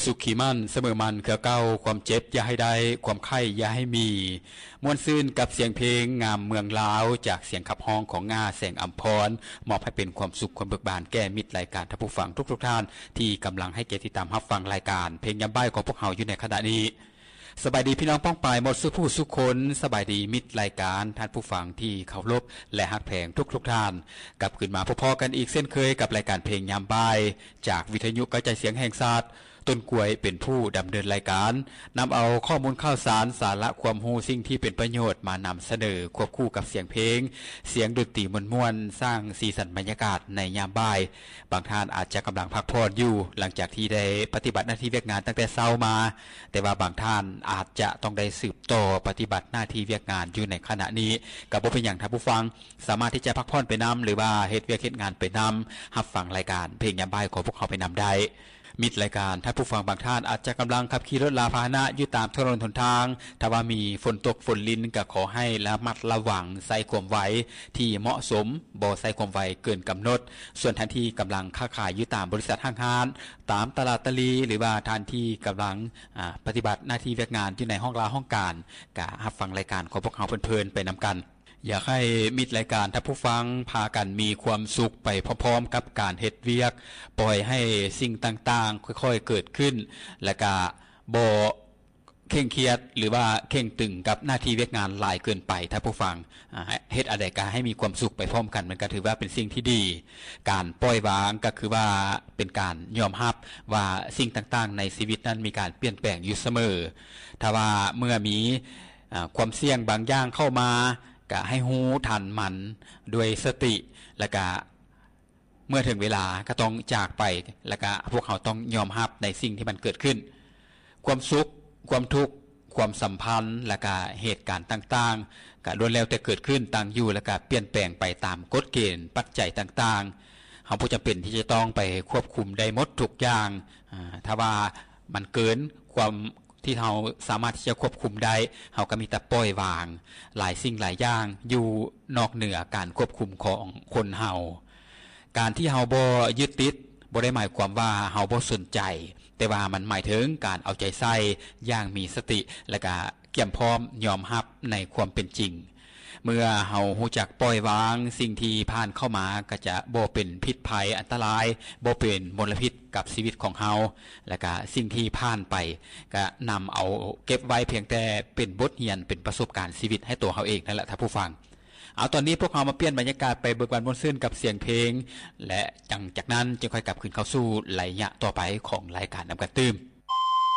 ສຸຂີໝັ້ນສະເໝີໝັ້ນເຄືອເກົ່າ, ຄວາມເຈັບຢ່າໃຫ້ໄດ້, ຄວາມໄຂ້ຢ່າໃຫ້ມີ. ມ່ວນຊື່ນກັບສຽງເພງງາມເມືອງລາວ ຈາກສຽງຂັບຮ້ອງຂອງ ງາ ແສງອຳພອນ, ມອບໃຫ້ເປັນຄວາມສຸກຄວາມເບີກບານແກ່ມິດລາຍການທ່ານຜູ້ຟັງທຸກໆທ່ານ ທີ່ກຳລັງໃຫ້ກຽດຕິດຕາມຮັບຟັງລາຍການເພງຍາມບ່າຍຂອງພວກເຮົາຢູ່ໃນຂະນະນີ້. ສະບາຍດີພີ່ນ້ອງປ້ອງປາຍໝົດສູ່ຜູ້ສູ່ຄົນ, ສະບາຍດີມິດລາຍການ, ທ່ານຜູ້ຟັງທີ່ເຄົາລົບ ແລະ ຮັກແພງທຸກໆທ່ານ. ກັບຄືນມາພົບພໍ້ກັນອີກເຊັ່ນເຄີຍກັບລາຍການເພງຍາມບ່າຍ ຈາກວິທະຍຸກະຈາຍສຽງແຫ່ງຊາດ ຕົ້ນກວຍເປັນຜູ້ດຳເນີນລາຍການ, ນຳເອົາຂໍ້ມູນຂ່າວສານ, ສາລະຄວາມຮູ້, ສິ່ງທີ່ເປັນປະໂຫຍດມານຳສະເໜີ ຄວບຄູ່ກັບສຽງເພງ, ສຽງດົນຕີມ່ວນໆ, ສ້າງສີສັນບັນຍາກາດໃນຍາມບ່າຍ. ບາງທ່ານອາດຈະກຳລັງພັກຜ່ອນຢູ່ ຫຼັງຈາກທີ່ໄດ້ປະຕິບັດໜ້າທີ່ວຽກງານຕັ້ງແຕ່ເຊົ້າມາ, ແຕ່ວ່າບາງທ່ານອາດຈະຕ້ອງໄດ້ສືບຕໍ່ປະຕິບັດໜ້າທີ່ວຽກງານຢູ່ໃນຂະນະນີ້. ກໍບໍ່ເປັນຫຍັງທ່ານຜູ້ຟັງ, ສາມາດທີ່ຈະພັກຜ່ອນໄປນຳ ຫຼືວ່າເຮັດວຽກເຮັດງານໄປນຳ, ຮັບຟັງລາຍການເພງຍາມບ່າຍຂອງພວກເຮົາໄປນຳໄດ້. ມິດລາຍການ, ທ່ານຜູ້ຟັງບາງທ່ານອາດຈະກຳລັງຂັບຂີ່ລົດລາພາຫະນະຢູ່ຕາມຖະໜົນຫົນທາງ. ຖ້າວ່າມີຝົນຕົກຝົນລິນ ກໍຂໍໃຫ້ລະມັດລະວັງ, ໃຊ້ຄວາມໄວທີ່ເໝາະສົມ, ບໍ່ໃຊ້ຄວາມໄວເກີນກຳນົດ. ສ່ວນທ່ານທີ່ກຳລັງຄ້າຂາຍຢູ່ຕາມບໍລິສັດຫ້າງຮ້ານ, ຕາມຕະຫຼາດຕະຫຼີ່ ຫຼືວ່າທ່ານທີ່ກຳລັງ, ອາ, ປະຕິບັດໜ້າທີ່ວຽກງານຢູ່ໃນຫ້ອງລາຫ້ອງການ, ກໍຮັບຟັງລາຍການຂອງພວກເຮົາເພີນໆໄປນຳກັນ. ຢາກໃຫ້ມິດລາຍການທ່ານຜູ້ຟັງພາກັນມີຄວາມສຸກໄປພ້ອມໆກັບການເຮັດວຽກ, ປ່ອຍໃຫ້ສິ່ງຕ່າງໆຄ່ອຍໆເກີດຂຶ້ນ ແລະກະບໍ່ເຄັ່ງຄຽດ ຫຼືວ່າເຄັ່ງຕຶງກັບໜ້າທີ່ວຽກງານຫຼາຍເກີນໄປ. ທ່ານຜູ້ຟັງ, ອາ, ເຮັດອັນໃດກະໃຫ້ມີຄວາມສຸກໄປພ້ອມກັນ, ມັນກະຖືວ່າເປັນສິ່ງທີ່ດີ. ການປ່ອຍວາງກະຄືວ່າເປັນການຍອມຮັບວ່າສິ່ງຕ່າງໆໃນຊີວິດນັ້ນມີການປ່ຽນແປງຢູ່ສະເໝີ. ຖ້າວ່າເມື່ອມີ, ອາ, ຄວາມສ່ຽງບາງຢ່າງເຂົ້າມາ, ກະໃຫ້ຮູ້ທັນມັນດ້ວຍສະຕິ ແລະກະເມື່ອເຖິງເວລາກໍຕ້ອງຈາກໄປ ແລະກະພວກເຮົາຕ້ອງຍອມຮັບໃນສິ່ງທີ່ມັນເກີດຂຶ້ນ. ຄວາມສຸກ, ຄວາມທຸກ, ຄວາມສຳພັນ ແລະກະເຫດການຕ່າງໆ ກະລ້ວນແລ້ວແຕ່ເກີດຂຶ້ນ, ຕັ້ງຢູ່ ແລະກະປ່ຽນແປງໄປຕາມກົດເກນປັດໄຈຕ່າງໆ. ເຮົາບໍ່ຈຳເປັນທີ່ຈະຕ້ອງໄປຄວບຄຸມໄດ້ໝົດທຸກຢ່າງ. ອາ, ຖ້າວ່າມັນເກີນຄວາມ ທີ່ເຮົາສາມາດທີ່ຈະຄວບຄຸມໄດ້, ເຮົາກໍມີແຕ່ປ່ອຍວາງ. ຫຼາຍສິ່ງຫຼາຍຢ່າງຢູ່ນອກເໜືອການຄວບຄຸມຂອງຄົນເຮົາ. ການທີ່ເຮົາບໍ່ຍຶດຕິດ ບໍ່ໄດ້ໝາຍຄວາມວ່າເຮົາບໍ່ສົນໃຈ, ແຕ່ວ່າມັນໝາຍເຖິງການເອົາໃຈໃສ່ຢ່າງມີສະຕິ ແລະກະກຽມພ້ອມຍອມຮັບໃນຄວາມເປັນຈິງ. ເມື່ອເຮົາຮູ້ຈັກປ່ອຍວາງ, ສິ່ງທີ່ຜ່ານເຂົ້າມາກໍຈະບໍ່ເປັນພິດໄພອັນຕະລາຍ, ບໍ່ເປັນມົນລະພິດກັບຊີວິດຂອງເຮົາ, ແລະກະສິ່ງທີ່ຜ່ານໄປ ກະນຳເອົາເກັບໄວ້ພຽງແຕ່ເປັນບົດຮຽນ, ເປັນປະສົບການຊີວິດໃຫ້ຕົວເຮົາເອງນັ້ນແຫຼະທ່ານຜູ້ຟັງ. ເອົາ, ຕອນນີ້ພວກເຮົາມາປ່ຽນບັນຍາກາດໄປເບີກບານມ່ວນຊື່ນກັບສຽງເພງ ແລະ ຫຼັງຈາກນັ້ນຈຶ່ງຄ່ອຍກັບຄືນເຂົ້າສູ່ໄລຍະຕໍ່ໄປຂອງລາຍການນຳກັນຕື່ມ.